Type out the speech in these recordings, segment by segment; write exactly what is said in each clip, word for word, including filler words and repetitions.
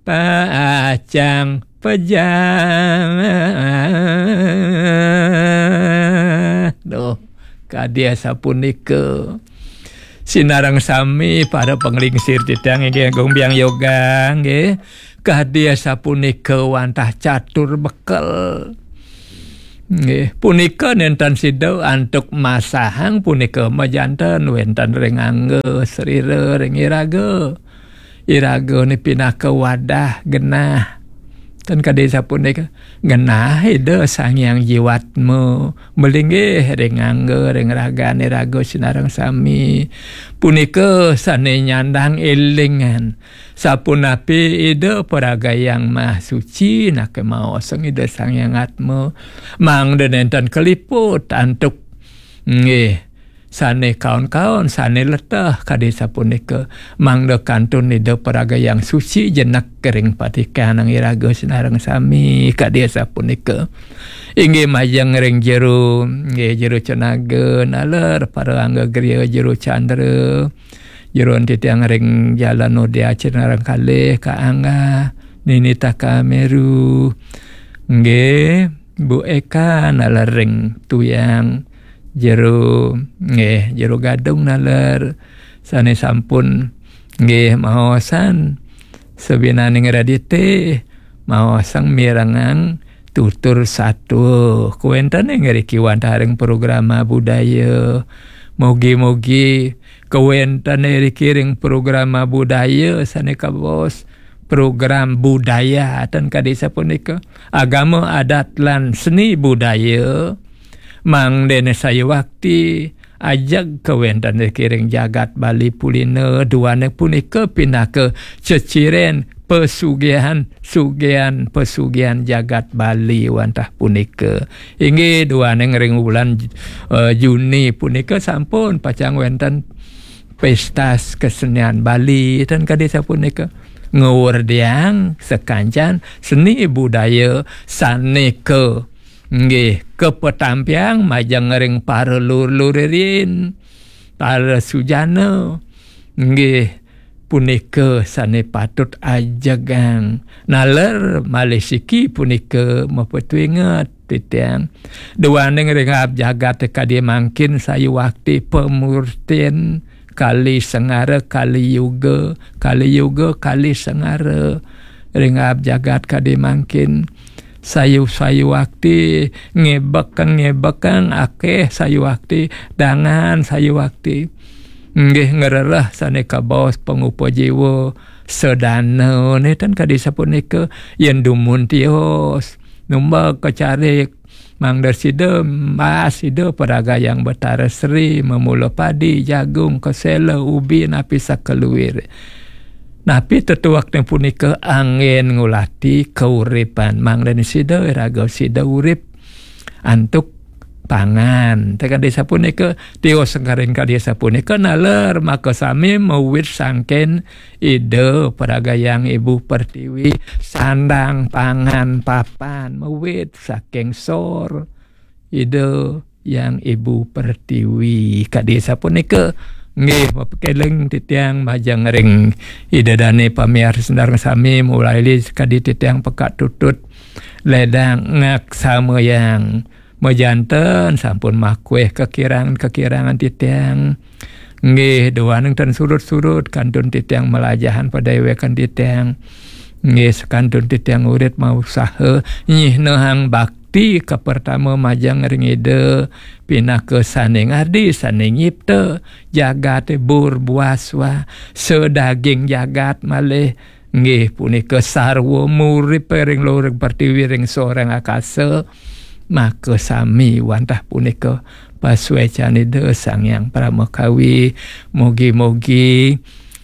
pacang pejah. Duh, kadi sapunika. Sinareng sami para panglingsir titiang inggih Agung Biang Yoga nggih. Kadi sapunika wantah catur bekel. Nggih, punika nénten sida antuk masahang punika majanten wénten ring angga srira ring iraga. Iraga ni pinaka wadah genah. Ten kadi sapunika genah Ida Sang Hyang Jiwatma malinggih ring angga ring ragan iraga sinareng sami. Punika sané nyandang élingan. Sapunapi Ida Paragayang Maha Suci, nake maosang Ida Sang Hyang Atma, mangda nénten kaliput antuk nggih sané kaon-kaon, sané leteh kadi sapunika, mangda kantun Ida Paragayang Suci jenek ring patikanang iraga sinareng sami kadi sapunika. Inggih majeng ring jero, nggih jero Cenaga, naler para angga griya jero Candra, jeroan titiang ring Jalan Udia Cinareng kalih ka Angga, Nini Taka Meru. Nggih, Bu Eka naler ring Tuyang, jero, nggih, jero Gadung naler sané sampun nggih maosan sabinaning radite maosang mirengang tutur satua. Kawéntené ngriki wantah ring programa budaya. Mugi-mugi kawéntené riki ring programa budaya sané kabaos program budaya ten kadi sapunika. Agama, adat lan seni budaya mangdané sayuwakti ajeg kawéntené riki ring jagat Bali Pulina, duaning punika pinaka ceciren pesugihan, sugihan, pesugihan jagat Bali wantah punika. Inggih duaning ring wulan, eh, Juni punika sampun pacang wénten pésta kesenian Bali ten kadi sapunika. Ngwerdiang sakancan seni budaya sané ka nggih kapatampiang majeng ring para lur-lur riin, para sujana. Nggih, punika sané patut ajegang. Naler malih siki punika mapatuinget titiang. Duaning ring aab jagat kadi mangkin sayuwakti pamurtin Kali Sengara, Kali Yuga, Kali Yuga, Kali Sengara. Ring aab jagat kadi mangkin sayu-sayuwakti, ngebekang-ngebekang akéh sayuwakti, dangan sayuwakti. Nggih ngrereh sané kabaos pangupa jiwa sadana nénten kadi sapunika, yén dumun tios, numbek kacarik, mangda sida maas Ida Paragayang Betara Sri, mamula padi, jagung, kesela, ubi, napi sakaluir. Napi tetuekné punika anggén ngulati kauripan. Mangdané sida iraga sida urip antuk pangan. Tekadi sapunika, tios sengkaring kadi sapunika naler makasami mawit sangkin Ida Paragayang Ibu Pertiwi, sandang pangan papan mawit saking sor Ida Hyang Ibu Pertiwi. Kadi sapunika, nggih, mapakéling titiang majeng ring Ida Dané pamiarsa sareng sami, mulaili kadi titiang pekak tutut ledang ngaksamayang. Majanten sampun makuih kakirangan-kakirangan titiang. Nggih, duaning tan surut-surut kantun titiang malajahan padéwékan titiang. Nggih, sakantun titiang urip mausaha nyihnahang bakti kapertama majeng ring Ida pinaka sané ngardi, sané nyipta jagaté bur buas wah, sadaging jagat malih. Nggih, punika sarwa murip ring luring pertiwi, ring soring akasa. Makasami wantah punika pasuécan Ida Sang Hyang Paramakawi. Mugi-mugi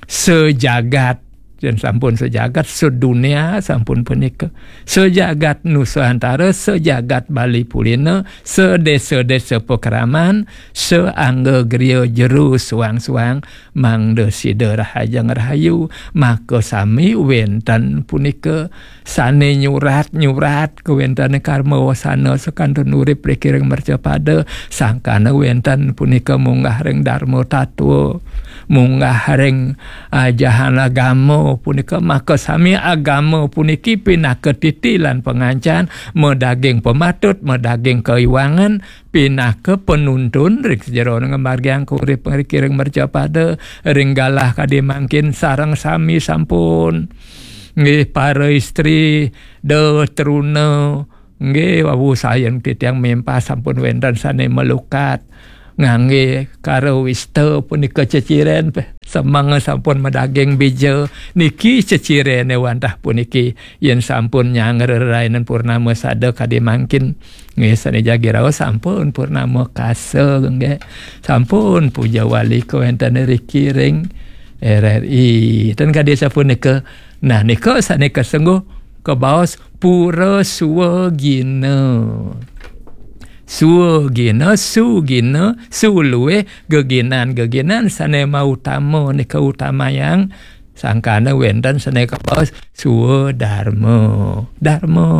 sajagat, yén sampun sajagat, sadunia sampun punika, sajagat Nusantara, sajagat Bali Pulina, sadésa-désa pakraman, saangga griya jero suang-suang, mangda sida rahajeng rahayu. Makasami wénten punika sané nyurat-nyurat kawéntenan karma wasana sakantun urip riki ring mercapada, sangkana wénten punika munggah ring Darma Tatwa. munggah ring ajahan agama punika, maka sami agama puniki pinaka titi lan pangancan, madaging pamatut, madaging kaiwangan, pinaka panuntun ring sajeroning ngamargiang kauripan ring mercapada, ring galah kadi mangkin sareng sami sampun. Nggih, para istri, da truna, nggih, wau sayan titiang mempah sampun wénten sané malukat. Nganggé karawista punika ceciren, semeng sampun madaging bija. Niki cecirené wantah puniki, yén sampun nyanggra rainan purnama sada kadi mangkin. Nggih, sané jagi raos sampun purnama kasa, nggih. Sampun puja wali kawéntenan riki ring R R I. Ten kadi sapunika. Nah, nika sané kasengguh kabaos pura suwagina. Suwagina, sugina, suluwé geginan-geginan sané mautama nika utamayang sangkana wénten sané kabaos swadarma. Darma,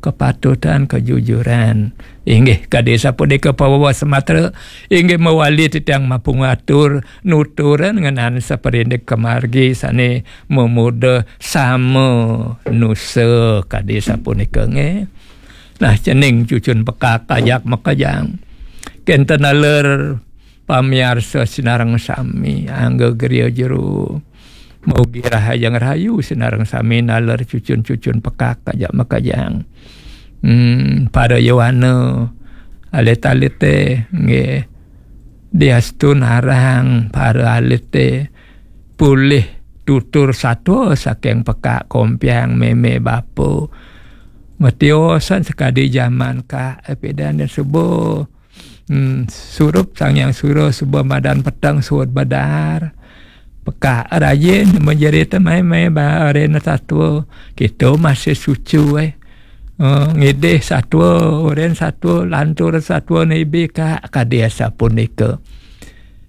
kepatutan, kejujuran. Inggih, kadi sapunika pawawa sematra, inggih mawali titiang mapangatur nuturan ngenan saparindik kamargi sané mamuda sama nusa kadi sapunika nggih. Nah, cening cucun pekak ajak makejang. Kénten taler pamiarsa sinareng sami, angga griya jero. Mugi rahajeng rahayu sinareng sami naler cucun-cucun pekak ajak makejang. Hmm, para yowana, alit-alité, nggih. Diastun arang para alité polih tutur satua saking pekak kompiang mémé bapa. Matiosan sakadi jaman Kak Epidan dan suba. Hmm, surup Sang Hyang Surya suba madan peteng suud badar. Pekak rajin menjerit mai-mai ba arena satua. Kita masih sucu, eh. Oh, ngidih satua, urin satua, lantur satua nibi Kak, kadi asapunika.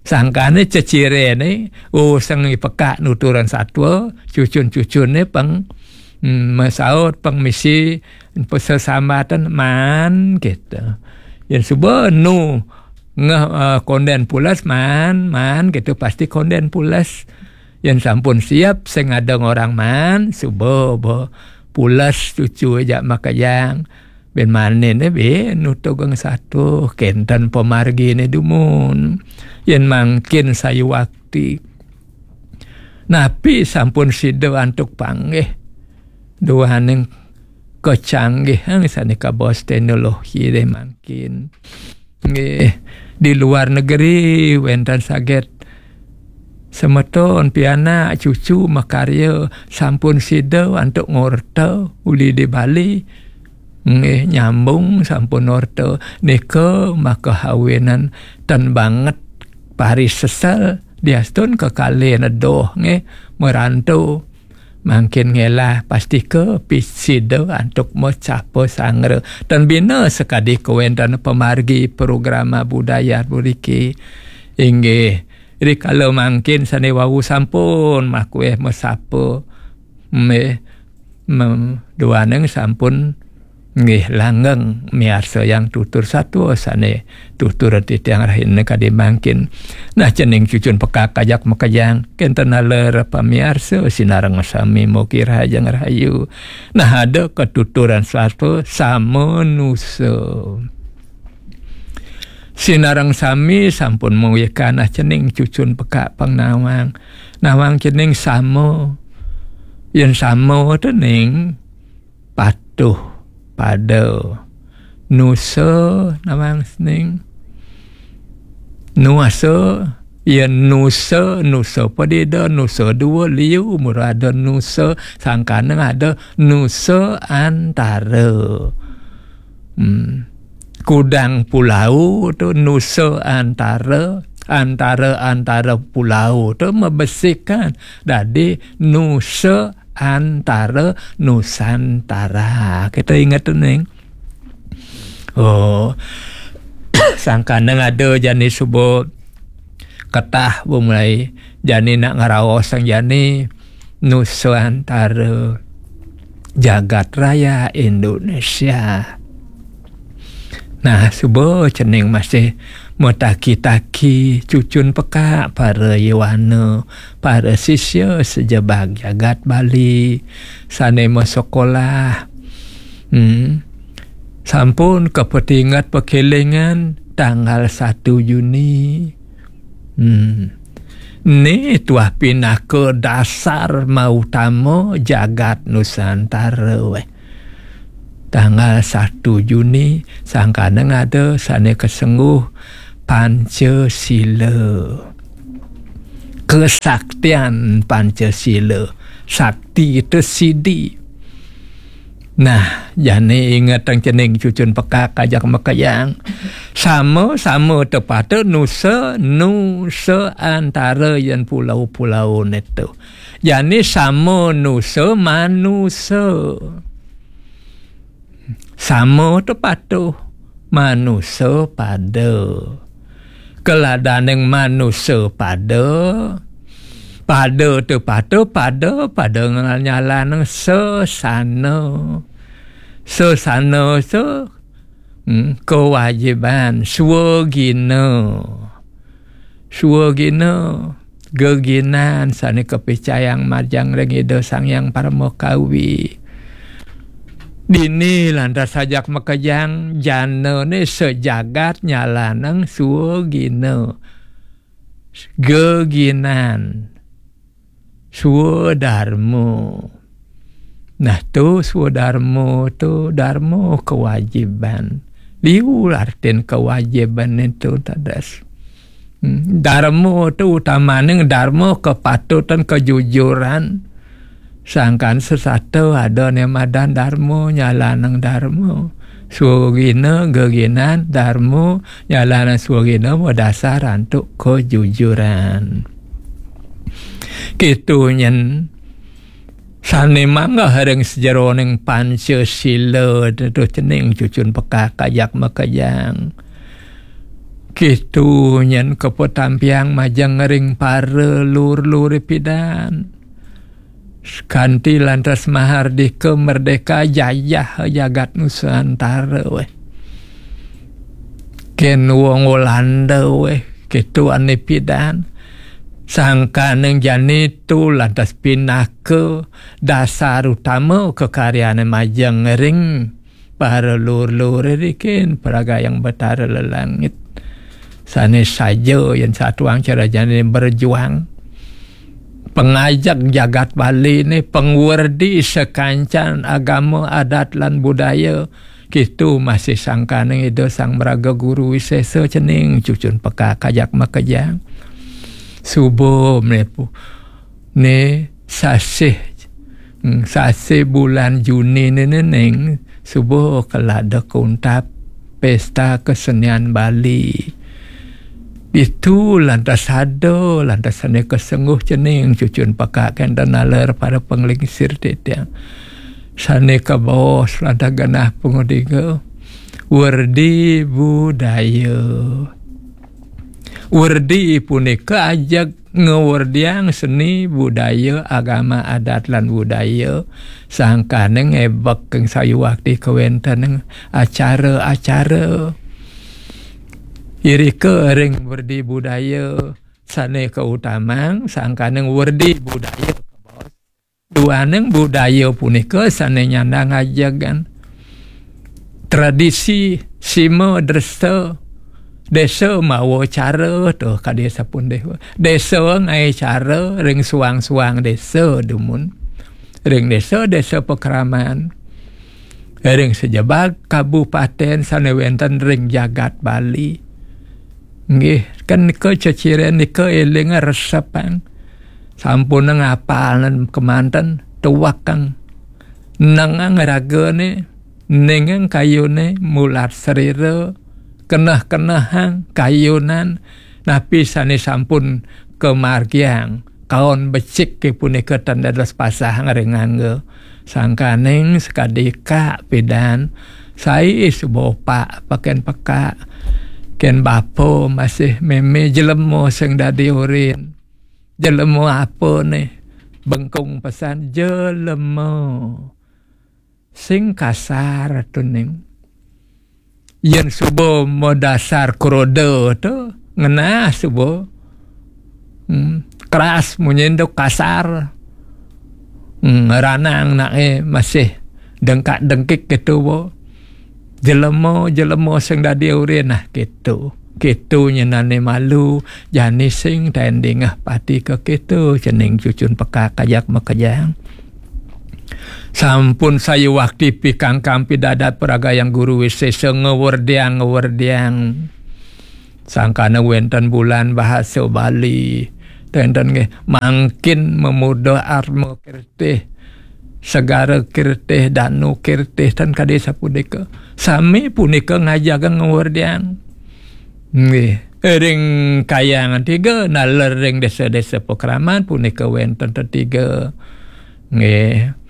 Sangkane cecirené, oh, sing pekak nuturan satua, cucun-cucune peng, hmm, masaut, peng misi, pesesambatan, man, gitu. Yén suba nu ngeh, eh, konden pules, man, man, gitu, pasti konden pules. Yén sampun siap, sing ada ngorang man, suba, ba, pules cucu ajak makejang. Bin manin, eh, bin nutugang satu, kénten pamargine dumun. Yén mangkin sayuwakti. Napi sampun sida antuk panggih. Duaning kecanggihan sane kabaos teknologi deh mangkin. Nggih, di luar negeri wenten saget semeton pianak cucu makarya sampun sida antuk ngorta uli di Bali. Nggih, nyambung sampun orta nika maka awinan ten banget paris sesel diastun kekalih nedoh nggih merantu. Mangkin ngelah pastika pisida antuk macapa sangra. Tan bina sakadi kawéntenan pamargi programa budaya mriki. Inggih, rikala mangkin sane wau sampun makueh masapa. Meh, mem-, duaning sampun nggih langgeng miarsayang tutur satua sane tutur titiang rahina kadi mangkin. Nah, cening cucun pekak ajak makejang, kenten naler pamiarsa sinareng sami mugi rahajeng rahayu. Nah, ada katuturan satua samanusa. Sinareng sami sampun mawika nah cening cucun pekak pang nawang. Nawang cening sama. Yen sama tening patuh pada. Nusa nawang sening. Nuasa, ya nusa, nusa padida, nusa dua liu, mula ada nusa, sangkaneng ada nusa antara. Hmm. Kudang pulau tu nusa antara, antara-antara pulau tu mabesikan. Dadi nusa antara Nusantara. Kita ingat tu, Ning. Oh. Sangkaneng ada jani suba ketah bumulai jani nak ngeraos sang jani Nusantara jagat raya Indonesia. Nah, suba cening masih Mataki-taki cucun pekak para yowana, para sisya sajebag jagat Bali sane masekolah. Hmm. Sampun kapatinget pakelingan tanggal satu Juni. Hmm. Ni tuah pinaka dasar mautama jagat Nusantara, weh. Tanggal satu Juni, sangkana ada sane kasengguh Pancasila. Kesaktian Pancasila. Sakti itu sidi. Nah, jani ingetang cening cucun pekak ajak makejang. Sama-sama tepata nusa, nusa antara yan pulau-pulau netu. Jani sama nusa manusa. Sama tepatuh manusa pada. Keladaning manusa pada, pada tepatuh pada, pada nyalanang sesana. Sesana se, hmm, kewajiban, swagina. Swagina, geginan sane kapicayang majeng ring Ida Sang Hyang Parama Kawi. Dini lantas ajak makejang janane sajagat nyalanang swagina. Geginan. Swadarma. Nah, tu swadarma tu darma kewajiban. Liu artin kewajiban itu, tadas. Hmm, darma tu utamaning darma kepatutan, kejujuran. Sangkan sesata ada ne madan darma, nyalanang darma. Swagina, geginan, darma, nyalanang swagina madasar antuk kejujuran. Kitu nyen sane manggeh ring sajeroning Pancasila, tetu cening cucun pekak ajak makejang. Kitu nyen kapatampiang majeng ring para lur-lur pidan. Kanti lantas mahardika merdeka jajah jagat Nusantara, weh. Ken wong Walanda, weh, kitu ane pidan. Sangkaning jani tu lantas pinaka dasar utama kekaryane majeng ring para lur-lur rikin, paragayang Betara Lelangit. Sane saja yen satuang carajane berjuang. Pengajak jagat Bali ne, pengwerdi sakancan agama, adat, lan budaya. Kitu masih sangkaning Ida Sang Maraga Guru Wisesa cening cucun pekak ajak makejang. Suba menepu. Ne sasih, hmm, sasih bulan Juni ne ning suba kelada kuntap pesta kesenian Bali. Ditu lantas ada, lantas sane kesengguh cening cucun pekak kenten naler para penglingsir titiang. Sane kabaos lantas genah pangudika. Werdi budaya. Werdi punika ajeg ngwerdiang seni budaya, agama, adat, lan budaya, sangkane ngebek ing sayuwakti kawentening acara-acara. Irika ring werdi budaya sane kautamang, sangkane werdi budaya kabaos. Duaning budaya punika sane nyandang ajegan. Tradisi sima dresa, desa mawa cara, tuh, kadi sapun dewa. Desa ngae cara ring suang-suang desa dumun. Ring desa-desa pakraman. Ring sajebag kabupaten sane wenten ring jagat Bali. Nggih, kan nika ceciren nika eling resepang. Sampunang apal kemanten tuwekang. Nengang ragane, nengang kayune mulat srira, keneh-kenehang kayunan, napi sane sampun kamargiang, kaon becik ke punika tan dados pasahang ring angga. Sangkaning sakadi kak pidan, sai suba opak peken pekak. Ken bapa masih meme jelema sing dadi urin. Jelema apa ne? Bengkung pesan jelema. Sing kasar tuning. Yen suba madasar kroda to, ngenah suba. Hmm, keras munyin tu, kasar. Hmm, ranang nake masih dengkak-dengkik gitu, bo. Jelema, jelema sing dadi urin, nah, gitu. Gitu nyenane malu, jani sing taen dingeh pati ke gitu, cening cucun pekak ajak makejang. Sampun sayuwakti pikangkang pidadat pragayang guru wisesa, ngewerdiang, ngewerdiang. Sangkana wenten bulan bahasa Bali. Tenten nggih, mangkin mamuda atma kirtih, segara kirtih, danu kirtih, ten kadi sapunika. Sami punika ngajagang ngewerdiang. Nggih, ring kayangan tiga, naler ring desa-desa pakraman punika wenten tetiga. Nggih.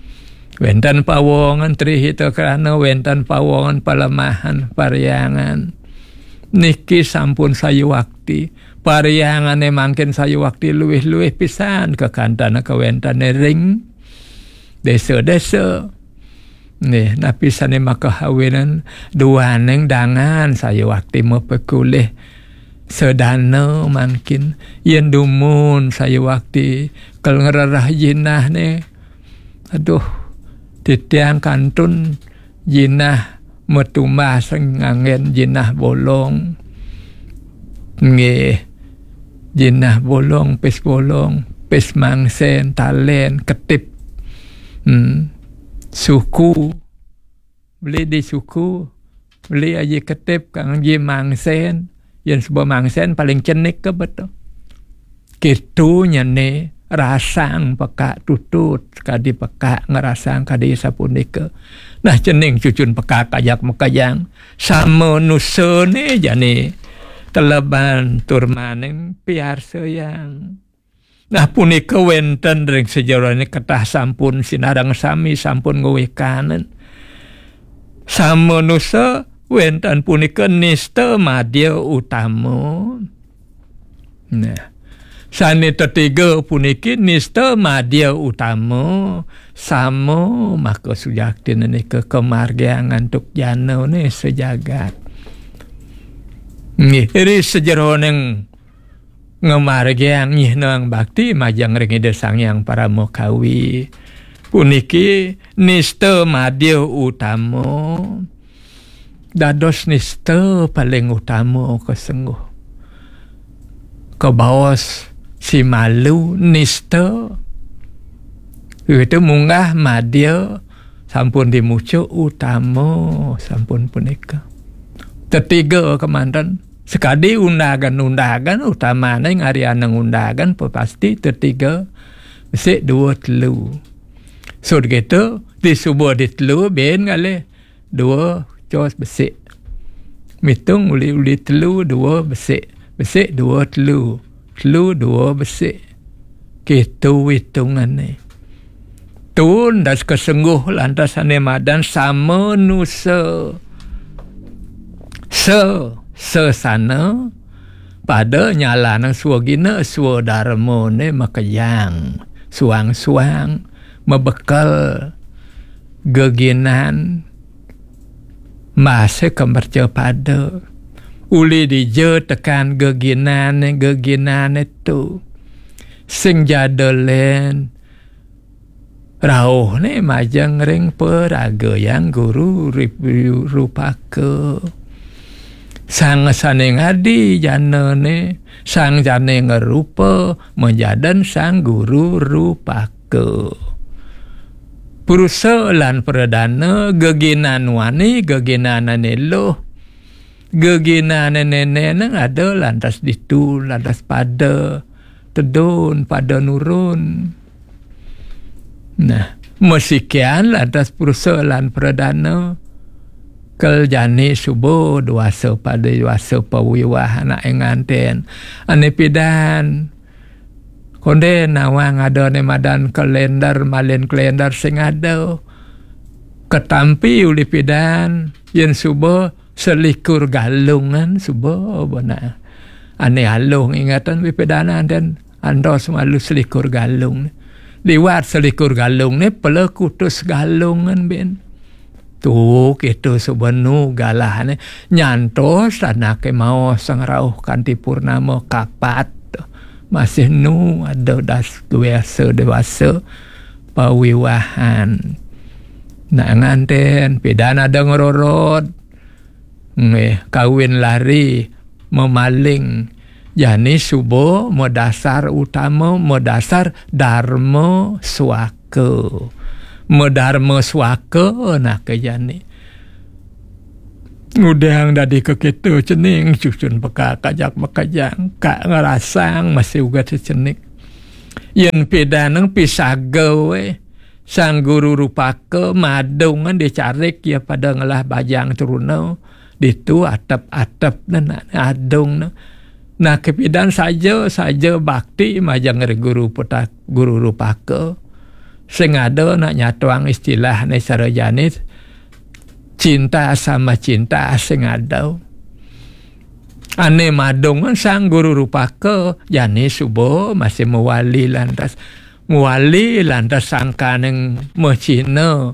Wenten pawongan Tri Hita Karana, wenten pawongan Palemahan, Pariangan. Niki sampun sayuwakti. Pariangane mangkin sayuwakti luwih-luwih pisan kekantana kawentane ring desa-desa. Nggih, napi sane makahawinan duaning dangan sayuwakti mapekulih sedana mangkin. Yen dumun sayuwakti kel ngrereh jinahne, aduh, titiang kantun jinah matumbas nganggen jinah bolong. Nggih. Jinah bolong, pis bolong, pis mangsen, talen, ketip. Hmm. Suku. Beli di suku, beli aji ketip, kangge mangsen. Yen suba mangsen paling cenik ke beto. Kitu nyene rasang pekak tutut, kadi pekak ngerasang kadi sapunika. Nah, cening cucun pekak ajak makejang. Sama nusane jani teleban tur maning piarsayang. Nah, punika wenten ring sajeroning ketah sampun sinareng sami sampun ngwekanen. Sama nusa wenten punika nista madya utama. Nah, sane tetiga puniki nista madya utama, sama maka sujaktina nika kamargiang antuk janane sajagat. Nggih, ri sajeroning ngamargiang nyihnang bakti majeng ring Ida Sang Hyang Parama Kawi. Puniki nista madya utama. Dados nista paling utama kasengguh. Kabaos simalu nista. Itu munggah madya sampun dimucuk utama sampun punika. Tetiga kemanten. Sekadi undagan-undagan utamane ngarianang undagan pasti tetiga. Besik dua telu. Sud gitu, di suba di telu, ben ngalih. Dua, cos besik. Mitung uli-uli telu, dua besik. Besik dua telu. Telu dua besik. Kitu hitungane. Tun das kasengguh lantas ane madan sama nusa. Se, sesana pada nyalanang swagina swadarmane makejang. Suang-suang, mabekel, geginan, masih kemerca pada. Uli dija tekan geginane, geginane tu. Sing jada len, rauhne majeng ring paragayang guru rip-, rupaka. Sang sane ngadi janane, sang jane ngrupa, majadan sang guru rupaka. Purusa lan pradana, geginan wani, geginan ane luh, geginan ane neneng ada lantas ditu, lantas pada tedun, pada nurun. Nah, masikian lantas purusa lan pradana, kel jani suba dewasa pada dewasa pawiwah anake nganten. Ane pidan, konden nawang ada ne madan kalender, malin kalender sing ada. Katampi uli pidan, yen suba selikur galungan suba bana. Ane aluh ingatan pipidanan dan andos malu selikur galung. Liwat selikur galung ne pala kutus galungan ben. Tu kitu suba nu galahne, nyantos anake maos sang rauh kanti purnama kapat. Masih nu ada das dewasa, dewasa pawiwahan. Nak nganten, pidan ada ngerorot. Nggih, kawin lari, memaling. Jani suba madasar utama, madasar darma swaka. Madarma swaka nake jani. Ngudang dadi keketo cening, cucun peka kajak makajang, ka ngerasang masih uga secenik. Yen pidaneng pisaga we, Sang Guru Rupaka madungan dicarik ya pada ngelah bajang truna, ditu atep-atep nena adung ne. Nah, kepidan saja, saja bakti majeng ring Guru Putak, Guru Rupaka. Sing ada nak nyatuang istilahne sarajane cinta sama cinta sing ada. Ane madungan Sang Guru Rupaka, jani suba masih mawali lantas. Mawali lantas sangkaning macina,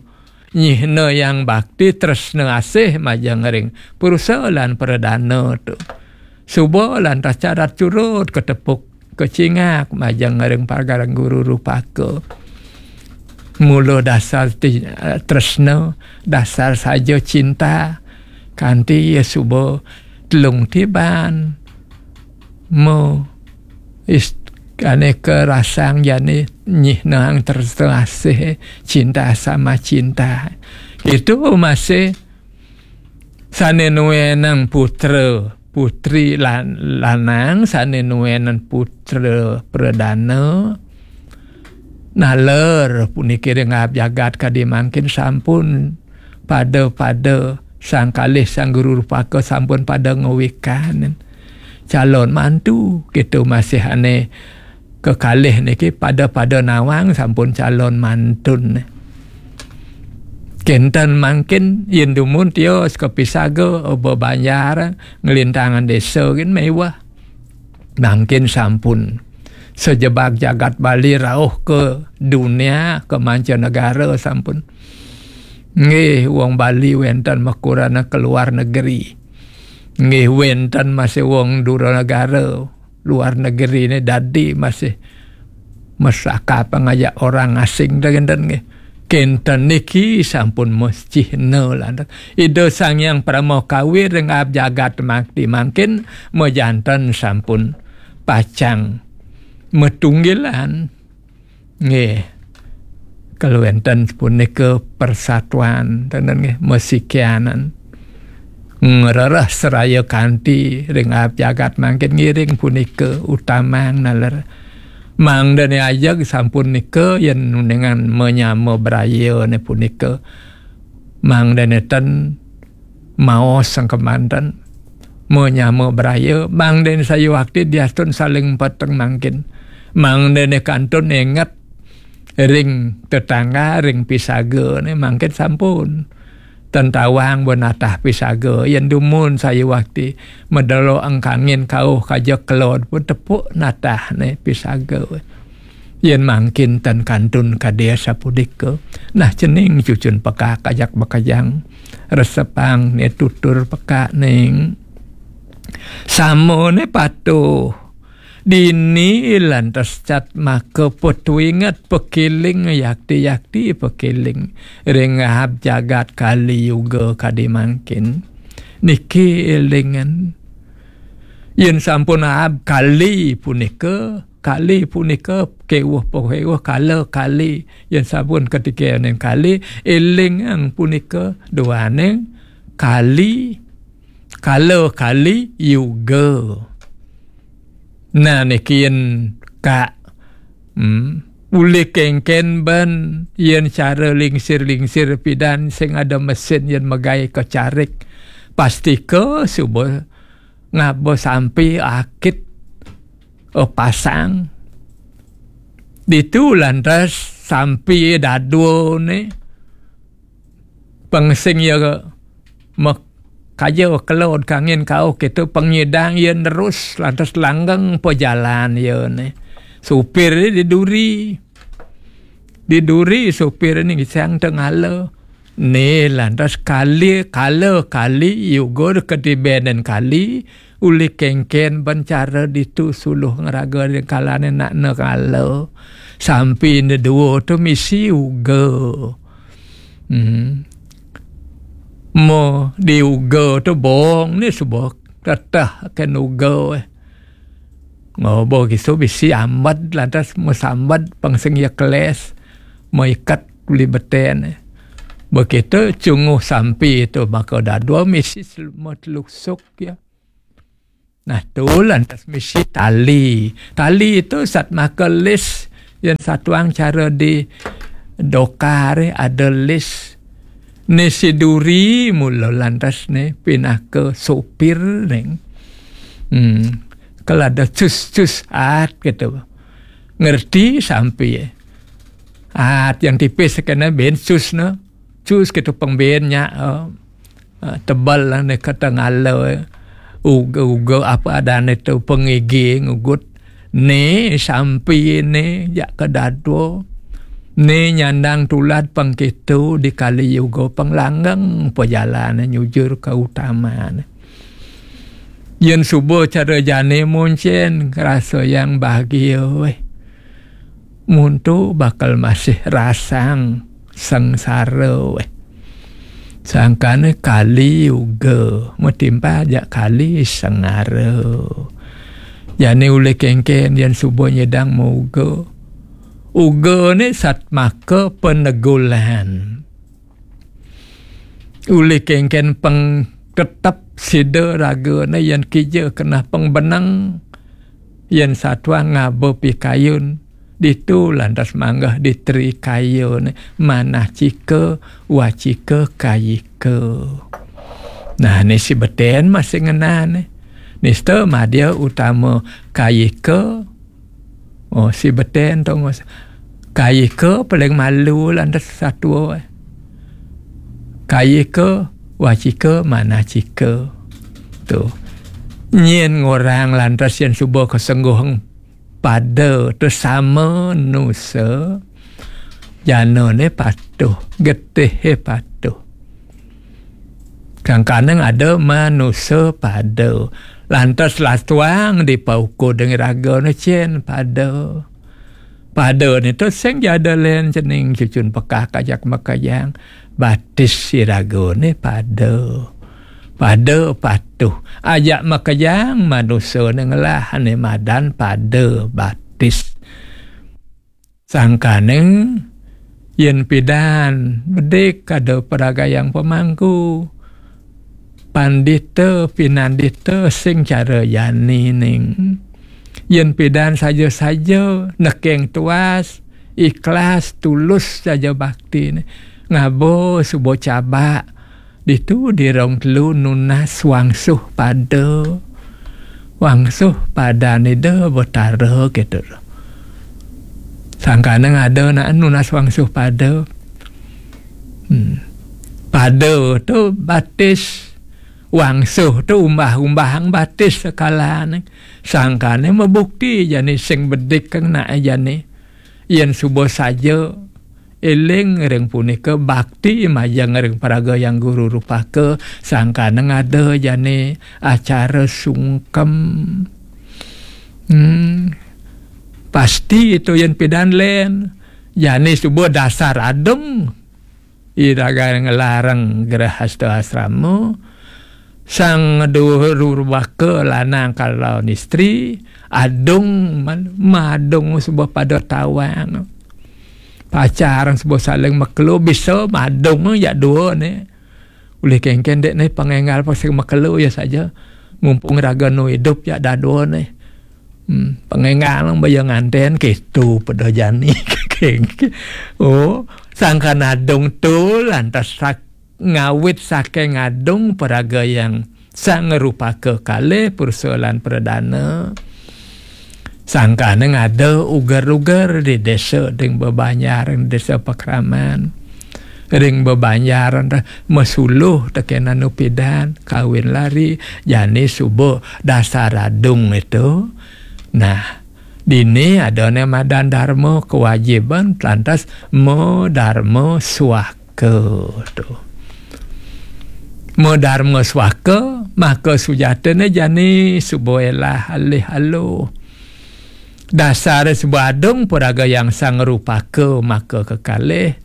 nyihna yang bakti tresna asih majeng ring purusa lan pradana tu. Suba lantas carat curut katepuk kacingak majeng ring pagareng Guru Rupaka. Mula dasar ti-, tresna, dasar saja cinta, kanti ya suba telung tiban. Mo is-, ane karasang jani nyihnang tresna asih, cinta sama cinta. Itu masih sane nuenang putra, putri lan-, lanang, sane nuenang putra pradana, naler puniki ring aab jagat kadi mangkin sampun pada-pada sang kalih Sang Guru Rupaka sampun pada ngawikan calon mantu, gitu masih ane kekalih niki pada-pada nawang sampun calon mantun. Kenten mangkin yen dumun tios ka pisaga, bebanjar, nglintangan desa gin mewah. Mangkin sampun sajebag jagat Bali rauh ke dunia, ke mancanegara sampun. Nggih, wong Bali wenten makurana ke luar negeri. Nggih, wenten masih wong dura negara, luar negeri ne dadi masih mesaka pangajak orang asing dah kenten nggih. Kenten niki sampun mescihna lantas. Ida Sang Hyang Parama Kawi ring aab jagat makti mangkin majanten sampun pacang matunggilan. Nggih. Kaluwenten punika persatuan, tenten nggih, masikianan. Ngrereh seraya kanti ring aab jagat mangkin ngiring punika utamang naler. Mangdane ajeg sampun nika yen uningan manyama brayane punika. Mangdane ten maos sang kemanten, manyama braya, mangdane sayuwakti diastun saling peteng mangkin. Mangdane kantun enget ring tetangga, ring pisagane mangkin sampun. Ten tawang ba natah pisaga, yen dumun sayuwakti madelok engkangin kauh kaja kelod pun tepuk natahne pisaga. Yen mangkin tan kantun kadi asapunika. Nah, cening cucun pekak ajak makejang. Resepang ne tutur pekak ning. Samone patuh. Dini lantas cat maka petuinget pekiling yakti-yakti pekiling. Ring aab jagat Kali Yuga kadi mangkin. Niki elingan. Yen sampun aab kali punika, kali punika kewuh pekewuh kala kali. Yen sampun katikening kali, elingang punika duaning kali, kala kali yuga. Nah, niki yen Kak, hmm, uli kengken ben yen cara lingsir-lingsir pidan sing ada mesin yen megai kecarik. Pastika suba ngaba sampi akit, eh, pasang. Ditu lantas sampi dadua ne. Pengsing ya mek-, kaja kelod kangin kauh kitu pengidang ya nerus lantas langgeng pejalan ya ne. Supir ni diduri. Diduri supir ni ngisang tengala. Ni lantas kali, kala kali, yuga kadibenan kali, uli kengken ban cara ditu suluh ngraga ring kalane nak negala. Sampi ne dua tu misi uga. Hmm. Mo di uga tu bong ni suba teteh ken uga, eh. Ngobo kisu bisi ambad lantas mesambad pang sing ya keles, meikat uli beten, eh. Begitu cunguh sampi tu maka dadua misi sel-, metelusuk ya. Nah, tu lantas misi tali. Tali tu sat maka lis, yan satuang cara di dokar, eh, ada lis. Ni si duri mula lantas ni pinaka sopir ning. Hmm. Kalau ada cus-cus at gitu. Ngerti sampi, eh. At yang tipis kena ben cus ne. Cus gitu pengben nya, eh. Ah, tebal lah ni kata ngala, eh. Uga-uga apa adane tu pengigi ngugut. Ni sampi ni jak ke dadua. Ni nyandang tulad pengkitu di kali yuga penglanggang pejalan nyujur ke utama ni. Yen suba cara jani muncen rasa yang bahagia, weh. Muntu bakal masih rasang sengsara, weh. Sangkane kali uga, metimpal jak kali sengara. Jani ulih kengken yen suba nyidang mauga. Uga ne sat maka penegulan. Ulih kengken peng tetep sida ragane yen kija kenah pengbeneng, yen satuang ngaba pikayun, ditu lantas manggah di tri kaya ne, manah cika, wacika, kayika. Nah, ni si beten masih ngenane. Nista madya utama kayika. Oh, si beten tu ngos. Kayika paling malu lantas satua, eh. Kayika, wacika, manacika. Tu. Nyen ngorang lantas yen suba kesengguhang pada tu sama nusa. Janane patuh, getihe patuh. Kangkaneng ada manusa pada. Lantas latuang dipaukud deng raga ne cen pada. Pada ne tu sing jada len cening cucun pekak ajak makajang. Batis si raga ne pada. Pada patuh. Ajak makajang manusa ne ngelah ne madan pada batis. Sangkaneng yen pidan bedik ada peragayang pemangku, pandita pinandita sing cara jani ning. Yen pidan saja-saja nekeng tuas, ikhlas, tulus saja bakti ne. Ngaba suba cabak, ditu di rong telu nunas wangsuh pada. Wangsuh pada Ida Betara gitu. Sangkaneng ada nak nunas wangsuh pada. Hmm. Pada tu batis. Wangsuh tu umbah-umbahang batis sekalane. Sangkane mebukti jani sing bedik kang nak jani. Yen suba saja eling ring punika bakti majeng ring paraga yang guru rupaka sangkaneng ada jani acara sungkem. Hmm, pasti itu yen pidan len jani suba dasar adung iraga ngelarang grehasta asrama. Sang duhur rubaka lanang kalawan istri, adung man-, madung suba pada tawang. Pacaran suba saling makelo, bisa madung ya dua ne. Ulih kengken dek ne pangenggal pasal makelo ya saja. Mumpung raga nu idup ya dadua ne. Hmm, pangenggal baya nganten kitu pada jani. Kengken. Oh, sangkan adung tu lantas sak ngawit saking adung paraga yang sang ngrupaka kalih pursa lan pradana. Sangkane ngada uger-uger di desa ding bebanjar, ring desa pakraman. Ring bebanjar masuluh teken anu pidan, kawin lari, jani suba dasar adung itu. Nah, dini ada ne madan dharma kewajiban, lantas madarma suaka. Ke to. Madarma swaka, maka sujatine jani suba elah alih aluh. Dasar suba adung paragayang sang rupaka maka kekalih.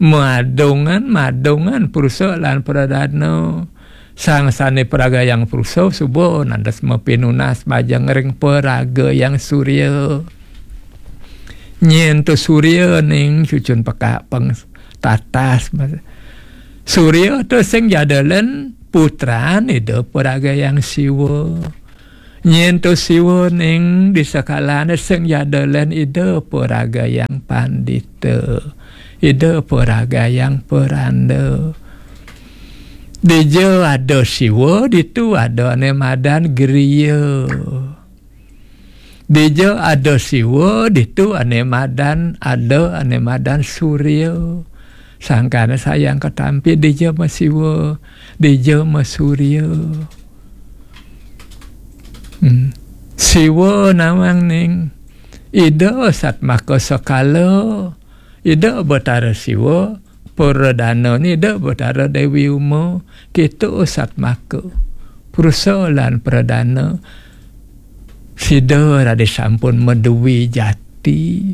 Madungan, madungan prusa lan pradana. Sang sane paragayang prusa suba nandes mapinunas majeng ring paragayang surya. Nyen to surya ning cucun pekak peng tatas. Surya to sing jadelen putran Ida paragayang Siwa. Nyen to Siwa ning di sekalane sing jadelen Ida paragayang pandita. Ida paragayang peranda. Dija ada Siwa, ditu ada ane madan griya. Dija ada Siwa, ditu ane madan, ada ane madan surya. Sangkane sayang katampi dija ma Siwa, dija ma surya. Hmm. Siwa nawang ning. Ida satmaka sekala. Ida Betara Siwa, pradana Ida Betara Dewi Uma, kita satmaka. Prusa lan pradana. Sida raris sampun madwi jati,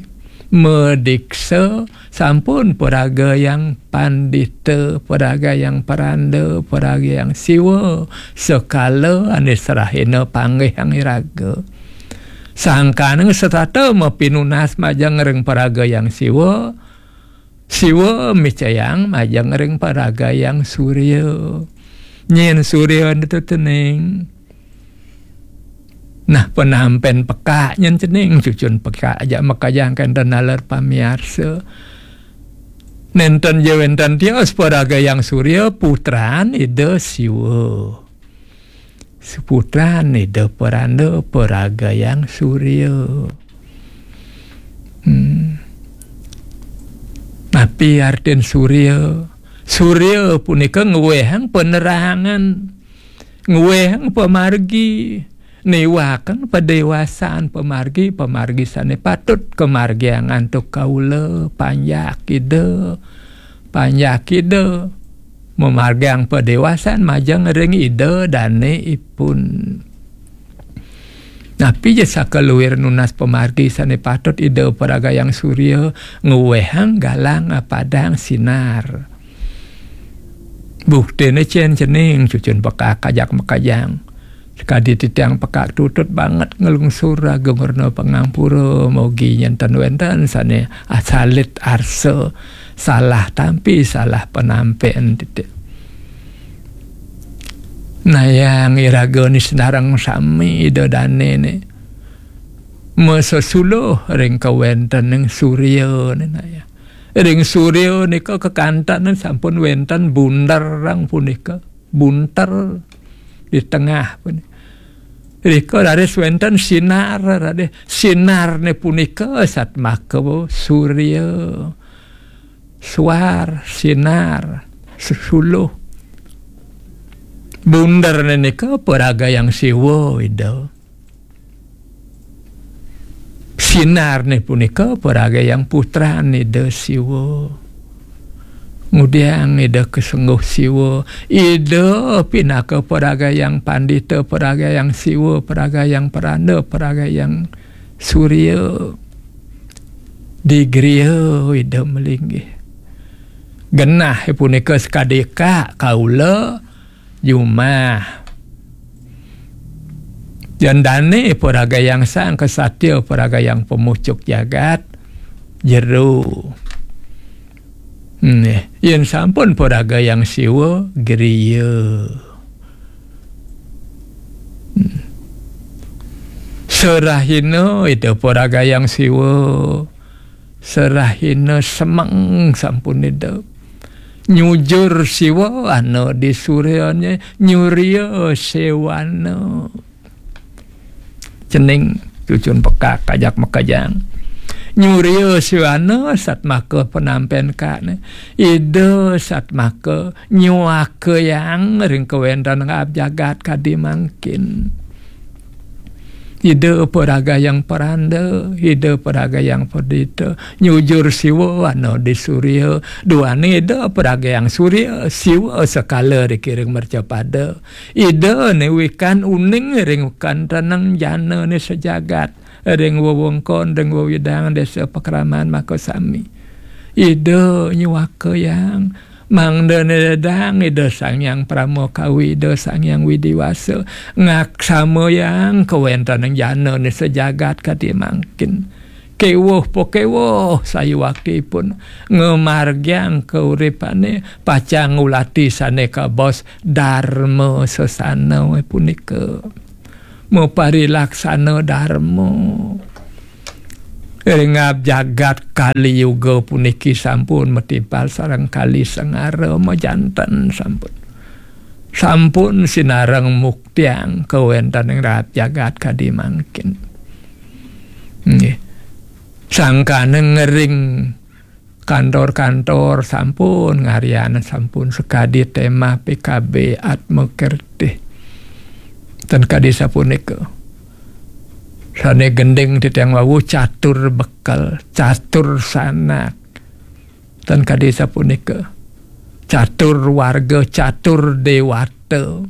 madiksa, sampun paragayang pandita, paragayang peranda, paragayang Siwa, sekala ane serahina panggih iraga. Sangkana setata mapinunas majeng ring paragayang Siwa, Siwa micayang majeng ring paragayang surya. Nyen surya ento cening. Nah, penampen pekak nyen cening, cucun pekak ajak makajang kenten naler pamiarsa. Nenten ja wenten tios paragayang surya, putran Ida Siwa. Putran Ida peranda paragayang surya. Hmm. Napi artin surya? Surya punika ngwehang penerangan, ngwehang pamargi, niwakang padewasan pamargi, pamargi sane patut kamargiang antuk kaula, panjak Ida, panjak Ida, mamargiang padewasan majeng ring Ida dane ipun. Napi ja sakaluir nunas pamargi sane patut Ida paragayang surya, ngwehang galang apadang sinar. Buktine cen cening, cucun pekak ajak makajang. Sakadi titiang pekak tutut banget nglungsur agung rena pangampura, mogi nenten wenten sane asalit arsa, salah tampi, salah penampen titik. Nayang iraga ni senareng sami Ida dane ne. Masesuluh ring kawentening surya ne nayang. Ring surya nika kekanten sampun wenten bunderang punika. Bunter di tengah punika. Rika raris wenten sinar, raris sinarne punika satmaka surya. Suar, sinar, sesuluh. Bunderne nika paragayang Siwa, Ida. Sinarne punika paragayang putran Ida Siwa. Ngudiang Ida kasengguh Siwa. Ida pinaka paragayang pandita, paragayang Siwa, paragayang peranda, paragayang surya. Di griya Ida malinggih. Genah punika sakadi ka kaula jumah. Jan dane paragayang sang kesatya, paragayang pemucuk jagat, jero. Nggih, yen sampun paragayang Siwa, griya. Hmm. Serahina Ida paragayang Siwa, serahina semeng sampun Ida. Nyujur Siwa ana di suryane, nyurya sewana. Cening cucun pekak ajak makejang. Nyurya sewana satmaka penampen kane. Ida satmaka nyuakayang ring kawentenan jagat kadi mangkin. Ida paragayang paranda, Ida paragayang perdita, nyujur Siwa ana di surya, duane Ida paragayang surya, Siwa sekala dikiring mercapada. Ida ne wikan uning ring kanteneng jana ne sejagat, ring wewengkon, ring wewidang desa pakraman makasami. Ida nyuaka yang, mangda nedang Ida Sang Hyang Parama Kawi, Ida Sang Hyang Widi Wasa, ngaksamayang kawentenang jana ne sejagat kadi mangkin. Kewuh pakewuh sayuwakti ipun ngamargiang kauripane, pacang ngulati sane kabaos darma sesana punika. Maparilaksana darma. Ring jagat Kali Yuga puniki sampun matimpal sareng Kali Sengara majanten sampun. Sampun sinareng muktiang kawentening rahat jagat kadi mangkin. Nggih. Sangkana ngering kantor-kantor sampun ngaryan, sampun sakadi tema P K B Atma Kertih. Ten kadi sapunika. Sane gending titiang wau catur bekel, catur sanak. Ten kadi sapunika. Catur warga, catur dewata.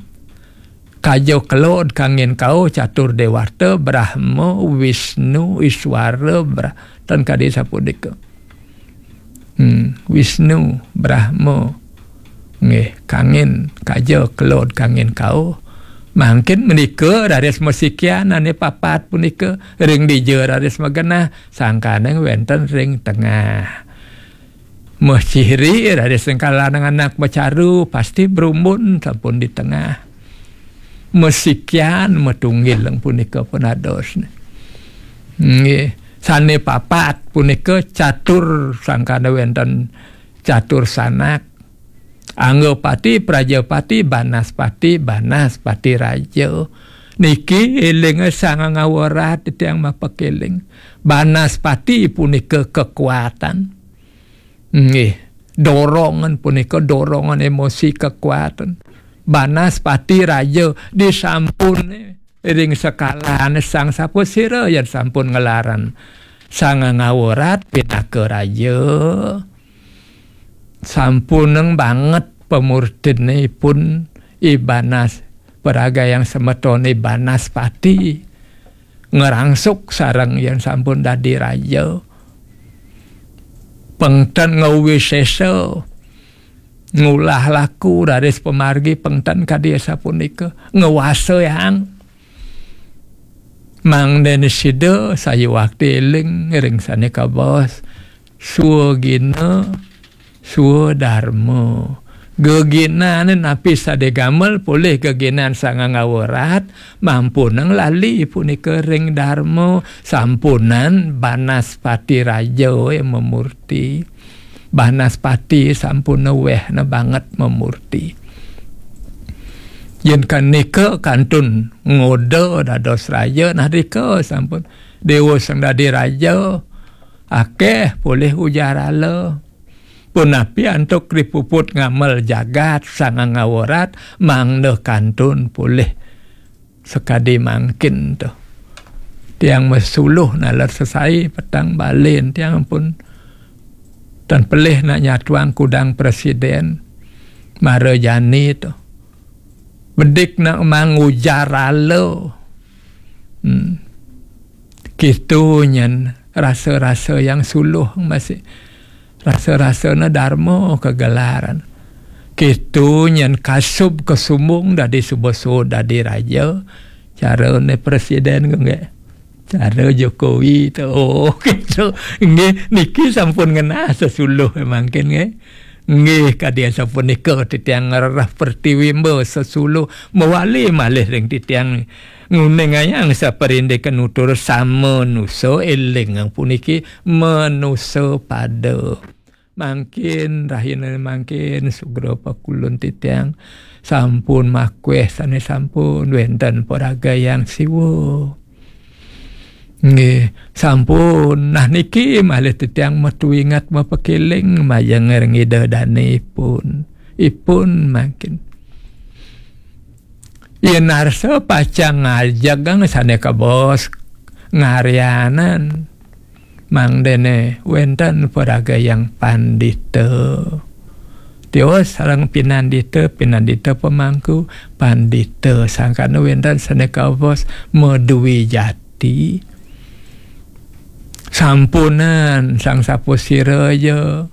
Kaja kelod kangin kauh, catur dewata, Brahma, Wisnu, Iswara, Bra-, ten kadi sapunika. Hmm, Wisnu, Brahma. Nggih, kangin, kaja kelod kangin kauh. Mangkin menika raris masikian ane papat punika, ring dija raris magenah, sangkaning wenten ring tengah. Meh ciri raris sengkalan anak macaru, pasti berumbun sampun di tengah. Mesikian, metunggil punika pun dados. Nggih, sane papat punika catur, sangkana wenten catur sanak. Anggapati, Prajapati, Banaspati, Banaspati Raja. Niki eling Sang Ngawarat titiang mapakeling. Banaspati punika kekuatan. Nggih, dorongan punika dorongan emosi kekuatan. Banaspati Raja disampun ring sekalane Sang Sapasira yen sampun ngelaran Sang Ngawarat pinaka raja. Sampuneng banget pamurtinipun Ibanas, paragayang semeton Ibanaspati. Ngerangsuk sareng yen sampun dadi raja. Pengten ngawisesa, ngulah laku raris pamargi pengten kadi sapunika, ngwasayang. Mangdene sida sayuwakti eling ring sane kabaos, swagina, swadarma. Geginane napi sade gamel polih geginan Sang Ngawarat, mampunang lali punika ring darma, sampunang Banaspati Raja mamurti. Banaspati sampun wehna banget mamurti. Yen kanika kantun ngoda dados raja, nah rika sampun Dewa Sang Dadi Raja, akeh polih ujarala. Punapi antuk ripuput ngamel jagat Sang Ngawarat, mangda kantun polih sakadi mangkin to. Tiang masuluh naler sesai petang balen tiang pun tan pelih nak nyatuang kudang presiden mara jani to. Bedik nak mangujarala. Hmm. Kitu nyen rasa-rasa yang suluh masih. Rasa-rasana darma kagelaran. Kitu nyen kasub kasumbung dadi suba suud dadi raja. Carane presiden ku nggih. Cara Jokowi tu. Oh, gitu. Nggih, niki sampun ngenah sesuluh mangkin nggih. Nggih, kadi sapunika titiang ngrereh pertiwi mba sesuluh mawali malih ring titiang nguningayang saparindik nutur samanusa eling puniki manusa pada. Mangkin, rahina mangkin, sugra pakulun titiang sampun makweh sane sampun wenten paragayang siwa. Nggih, sampun. Nah, niki malih titiang metu ingat mapakeling majeng ring Ida dane ipun. Ipun mangkin. Yen arsa pacang ngajegang sane kebos ngaryanan. Mangdene wenten paragayang pandita. Tios sareng pinandita, pinandita pemangku, pandita sangkana wenten sane kebos madwi jati. Sampunan Sang Sapasira ja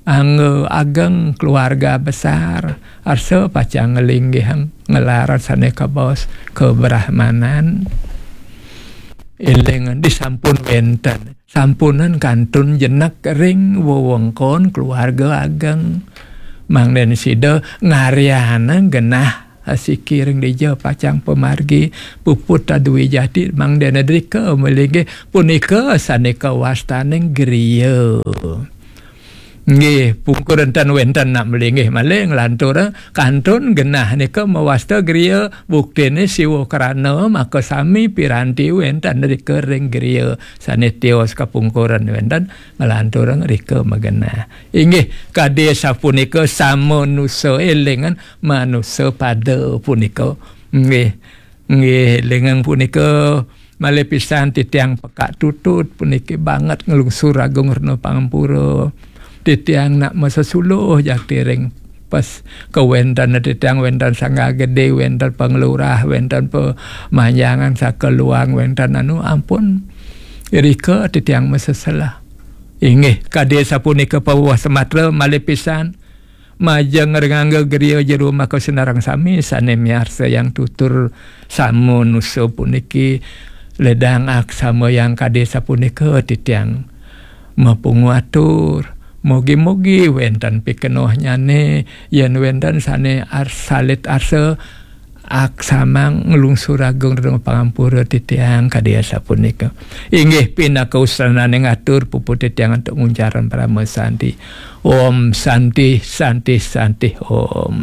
angga ageng keluarga besar, arsa pacang nglinggihang ngelar sane kabaos kabrahmanan. Eling disampun wenten, sampunan kantun jenek ring wewengkon keluarga ageng. Mangdene sida ngaryanang genah asiki ring dija pacang pamargi puput Dwijati, mangdene drika malinggih punika sane kawastaning griya. Nggih, pungkur enten wenten nak malinggih malih nglantur kantun genah nika mawasta griya, buktine siwa krana maka sami piranti wenten rika ring griya sane tios kapungkuran wenten nglantur rika magenah. Inggih, kadi sapunika samanusa elingan manusa pada punika. Nggih, nggih, elingan punika malih pisan titiang pekak tutut puniki banget nglungsur agung rena pangampura. Titiang nak masesuluh jati ring pas kawenten titiang wenten Sangga Gede, wenten panglurah, wenten pamanjangan sakaluang, wenten anu ampun. Irika titiang maseselah. Inggih, kadi sapunika paweweh sematra malih pisan. Majeng ring angga griya jero maka sinareng sami sane miarsa yang tutur sama nusa puniki ledang aksama yang kadi sapunika titiang mapungu atur. Mugi-mugi wenten pikenohnyane yen wenten sane ar-, salit arsa aksamang nglungsur agung rena pangampura titiang kadi asapunika. Inggih pinaka usrananing atur puput titiang antuk nguncaran parama santi. Om Santi, Santi, Santi, Om.